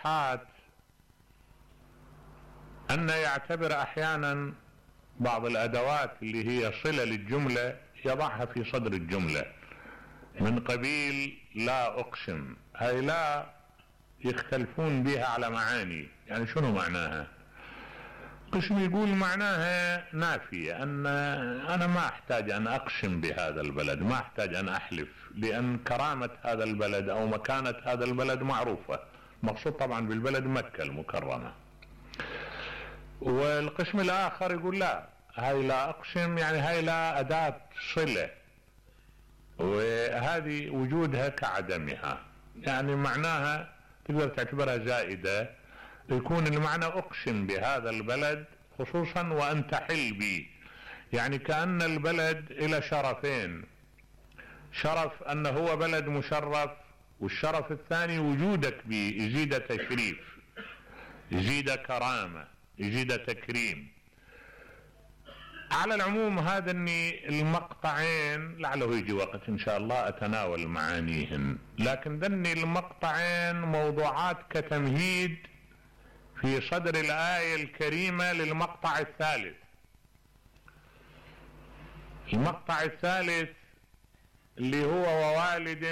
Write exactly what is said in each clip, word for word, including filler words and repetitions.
المصطلحات أن يعتبر أحيانا بعض الأدوات اللي هي صلة للجملة يضعها في صدر الجملة من قبيل لا أقسم. هاي لا يختلفون بها على معاني. يعني شنو معناها؟ قسم يقول معناها نافية، أن أنا ما أحتاج أن أقسم بهذا البلد، ما أحتاج أن أحلف، لأن كرامة هذا البلد أو مكانة هذا البلد معروفة. مقصود طبعا بالبلد مكة المكرمة. والقسم الآخر يقول لا، هاي لا أقسم يعني هاي لا أداة صلة، وهذه وجودها كعدمها، يعني معناها تقدر تعتبرها زائدة. يكون المعنى أقسم بهذا البلد خصوصا وأن تحل بي، يعني كأن البلد إلى شرفين، شرف أنه هو بلد مشرف، والشرف الثاني وجودك بي يزيد تشريف، يزيد كرامة، يزيد تكريم. على العموم هذا اني المقطعين لعله يجي وقت ان شاء الله اتناول معانيهن، لكن ذني المقطعين موضوعات كتمهيد في صدر الآية الكريمة للمقطع الثالث. المقطع الثالث اللي هو ووالد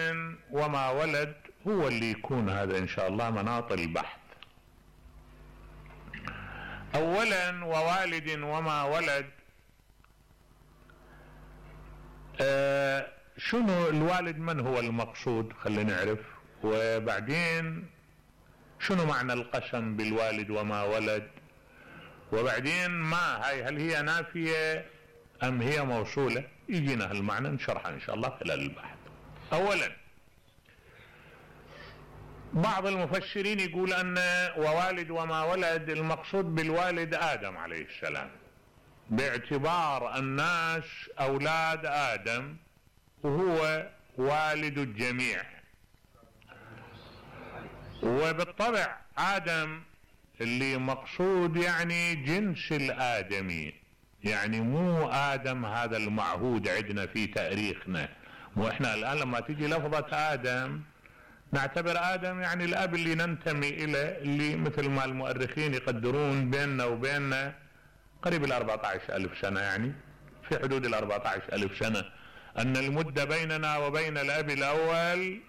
وما ولد هو اللي يكون هذا ان شاء الله مناط البحث. اولا ووالد وما ولد، آه شنو الوالد؟ من هو المقصود؟ خلينا نعرف. وبعدين شنو معنى القسم بالوالد وما ولد؟ وبعدين ما هاي، هل هي نافية ام هي موصولة؟ يجينا هالمعنى نشرحها ان شاء الله خلال البحث. اولا بعض المفسرين يقول ان ووالد وما ولد المقصود بالوالد آدم عليه السلام، باعتبار الناس اولاد آدم وهو والد الجميع. وبالطبع آدم اللي مقصود يعني جنس الآدمي، يعني مو آدم هذا المعهود عندنا في تاريخنا. مو احنا الآن لما تيجي لفظة آدم نعتبر آدم يعني الأب اللي ننتمي إليه، اللي مثل ما المؤرخين يقدرون بيننا وبيننا قريب الأربعة عشر ألف سنة، يعني في حدود الأربعة عشر ألف سنة، أن المدة بيننا وبين الأب الأول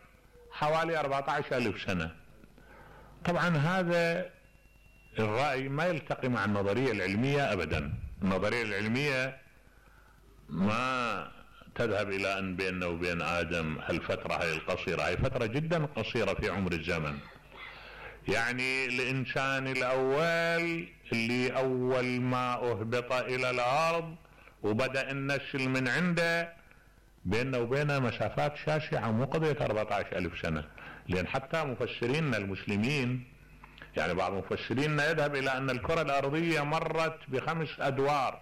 حوالي أربعة عشر ألف سنة. طبعا هذا الرأي ما يلتقي مع النظرية العلمية أبدا. النظرية العلمية ما تذهب إلى أن بيننا وبين آدم هالفترة هاي القصيرة، هاي فترة جدا قصيرة في عمر الزمن. يعني الإنسان الأول اللي أول ما أهبط إلى الأرض وبدأ النسل من عنده بيننا وبينه مسافات شاسعة، مو قضية أربعة عشر ألف سنة. لأن حتى مفسرين المسلمين، يعني بعض مفسرين يذهب إلى أن الكرة الأرضية مرت بخمس أدوار،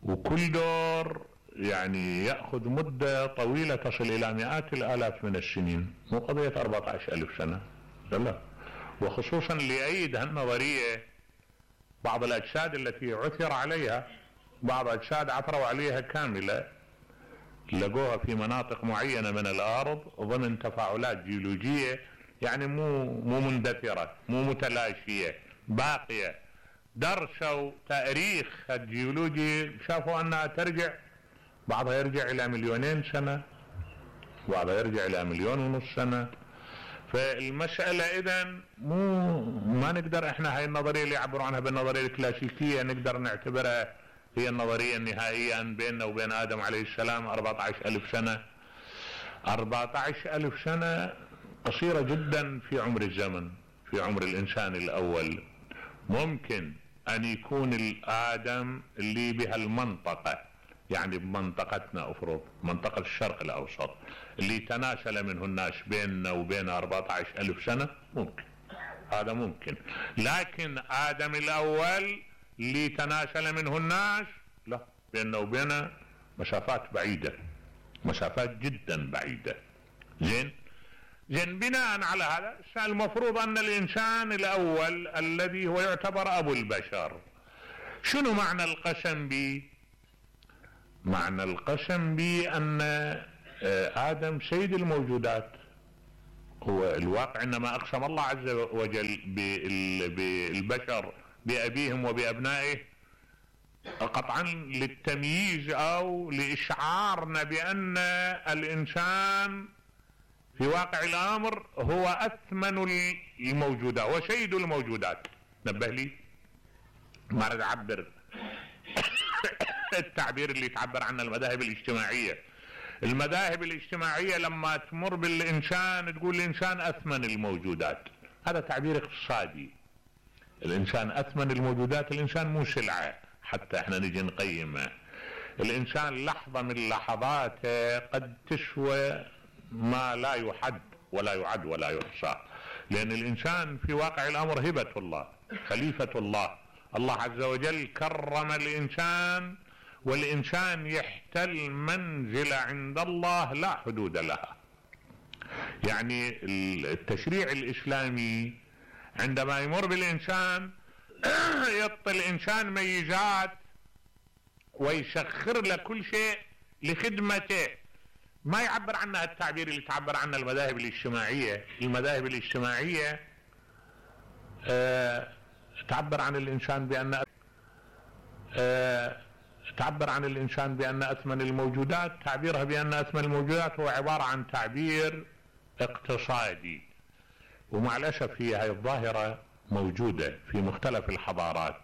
وكل دور يعني يأخذ مدة طويلة تصل إلى مئات الآلاف من السنين، مو قضية أربعة عشر ألف سنة. لا، وخصوصا ليؤيد هالنظرية بعض الأجساد التي عثر عليها، بعض أجساد عثروا عليها كاملة لقوها في مناطق معينة من الأرض ضمن تفاعلات جيولوجية، يعني مو مو مندثرة، مو متلاشية، باقية. درسوا تاريخ الجيولوجي شافوا أنها ترجع، بعضها يرجع إلى مليونين سنة، بعضها يرجع إلى مليون ونص سنة. فالمسألة إذن مو ما نقدر احنا هاي النظرية اللي يعبروا عنها بالنظرية الكلاسيكية نقدر نعتبرها هي النظرية النهائية أن بيننا وبين آدم عليه السلام أربعة عشر ألف سنة. أربعة عشر ألف سنة قصيرة جدا في عمر الزمن، في عمر الإنسان الأول. ممكن أن يكون الآدم اللي بهالمنطقة، يعني بمنطقتنا أفرض منطقة الشرق الأوسط، اللي تناسل منه الناس بيننا وبين أربعة عشر ألف سنة، ممكن هذا ممكن. لكن آدم الأول اللي تناسل منه الناس لا، بيننا وبينه مسافات بعيدة، مسافات جدا بعيدة. زين زين بناء على هذا المفروض أن الإنسان الأول الذي هو يعتبر أبو البشر، شنو معنى القسم به؟ معنى القسم به أن آدم سيد الموجودات، هو الواقع انما اقسم الله عز وجل بالبشر بابيهم وبابنائه قطعا للتمييز او لاشعارنا بان الانسان في واقع الامر هو اثمن الموجودات وسيد الموجودات. نبه لي ما اريد اعبر التعبير اللي تعبر عنه المذاهب الاجتماعيه. المذاهب الاجتماعيه لما تمر بالانسان تقول الانسان اثمن الموجودات، هذا تعبير اقتصادي. الانسان اثمن الموجودات، الانسان مو سلعه حتى احنا نجي نقيمه. الانسان لحظه من لحظاته قد تسوى ما لا يحد ولا يعد ولا يحصى، لان الانسان في واقع الامر هبه الله، خليفه الله. الله عز وجل كرم الانسان، والانسان يحتل منزله عند الله لا حدود لها. يعني التشريع الاسلامي عندما يمر بالانسان يعطي الانسان ميزات ويسخر له كل شيء لخدمته. ما يعبر عنها التعبير اللي تعبر عنه المذاهب الاجتماعيه. المذاهب الاجتماعيه أه تعبر عن الانسان بان أه تعبر عن الانسان بان اثمن الموجودات. تعبيرها بان اثمن الموجودات هو عباره عن تعبير اقتصادي، ومع الاسف هي هاي الظاهره موجوده في مختلف الحضارات.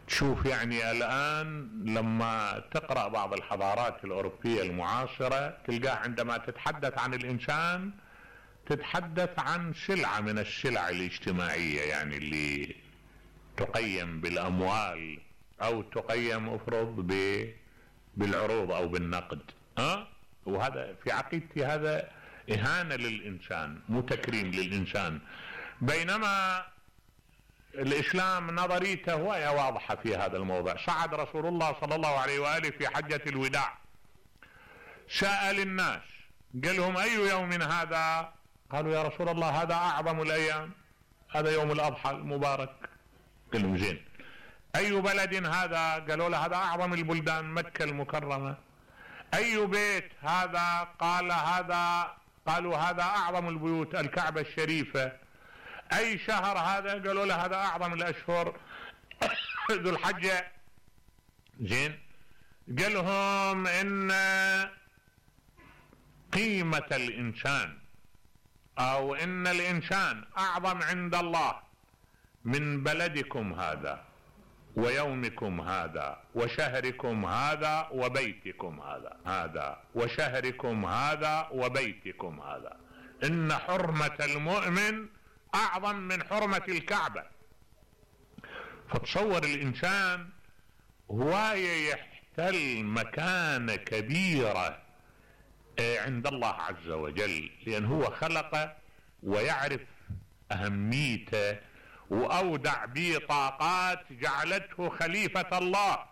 تشوف يعني الان لما تقرا بعض الحضارات الاوروبيه المعاصره تلقاه عندما تتحدث عن الانسان تتحدث عن سلعه من السلع الاجتماعيه، يعني اللي تقيم بالاموال او تقيم افرض بالعروض او بالنقد. ها وهذا في عقيدتي هذا اهانه للانسان مو تكريم للانسان. بينما الاسلام نظريته وهي واضحه في هذا الموضوع. صعد رسول الله صلى الله عليه واله في حجه الوداع، سأل الناس قال لهم اي يوم هذا؟ قالوا يا رسول الله هذا اعظم الايام، هذا يوم الاضحى المبارك. قال لهم زين. اي بلد هذا؟ قالوا له هذا اعظم البلدان، مكه المكرمه. اي بيت هذا؟ قال هذا قالوا هذا اعظم البيوت، الكعبه الشريفه. اي شهر هذا؟ قالوا له هذا اعظم الاشهر، ذو الحجه. زين. قال لهم ان قيمه الانسان او ان الانسان اعظم عند الله من بلدكم هذا ويومكم هذا وشهركم هذا وبيتكم هذا هذا وشهركم هذا وبيتكم هذا. ان حرمة المؤمن اعظم من حرمة الكعبة. فتصور الانسان هو يحتل مكانة كبيرة عند الله عز وجل، لان هو خلقه ويعرف اهميته واودع به طاقات جعلته خليفة الله.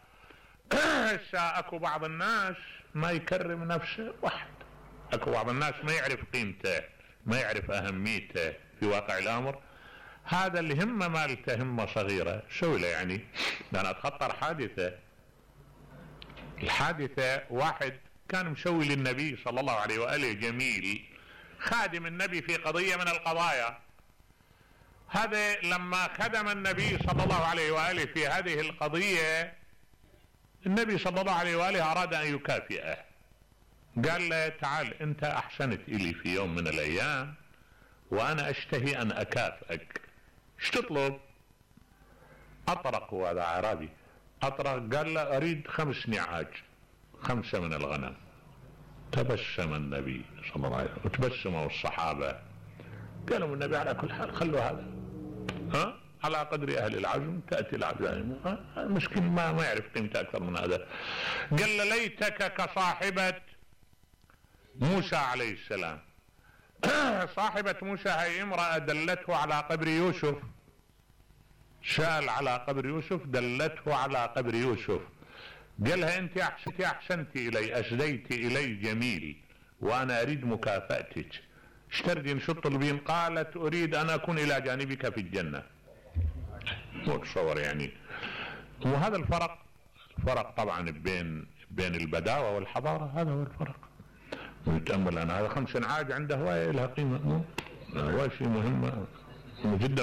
اكو بعض الناس ما يكرم نفسه واحد، اكو بعض الناس ما يعرف قيمته ما يعرف اهميته في واقع الامر. هذا اللي همه مالته همه صغيرة سوي له. يعني انا اتخطر حادثة، الحادثة واحد كان مسوي للنبي صلى الله عليه وآله جميل، خادم النبي في قضية من القضايا. هذا لما خدم النبي صلى الله عليه وآله في هذه القضية، النبي صلى الله عليه وآله أراد أن يكافئه. قال له تعال أنت أحسنت إلي في يوم من الأيام وأنا أشتهي أن أكافئك، ايش تطلب؟ أطرق، هذا أعرابي أطرق. قال له أريد خمس نعاج، خمسة من الغنم. تبسم النبي صلى الله عليه وسلم وتبسموا الصحابة. قالوا النبي على كل حال خلوا هذا، ها على قدر أهل العزم تأتي العزائم. المسكين ما ما يعرف قيمته أكثر من هذا. قال له ليتك كصاحبة موسى عليه السلام. صاحبة موسى هي امرأة دلته على قبر يوسف، سأل على قبر يوسف دلته على قبر يوسف. قالها انت احسنتي احسنتي الي، اسديت الي جميل وانا اريد مكافأتك، ايش تريدين شو تطلبين؟ قالت اريد ان اكون الى جانبك في الجنة. مو تصور يعني. وهذا الفرق، الفرق طبعا بين بين البداوة والحضارة، هذا هو الفرق. ويتأمل. أنا هذا خمس عاج عنده هواية لها قيمة، مو هواية شيء مهمة جدا.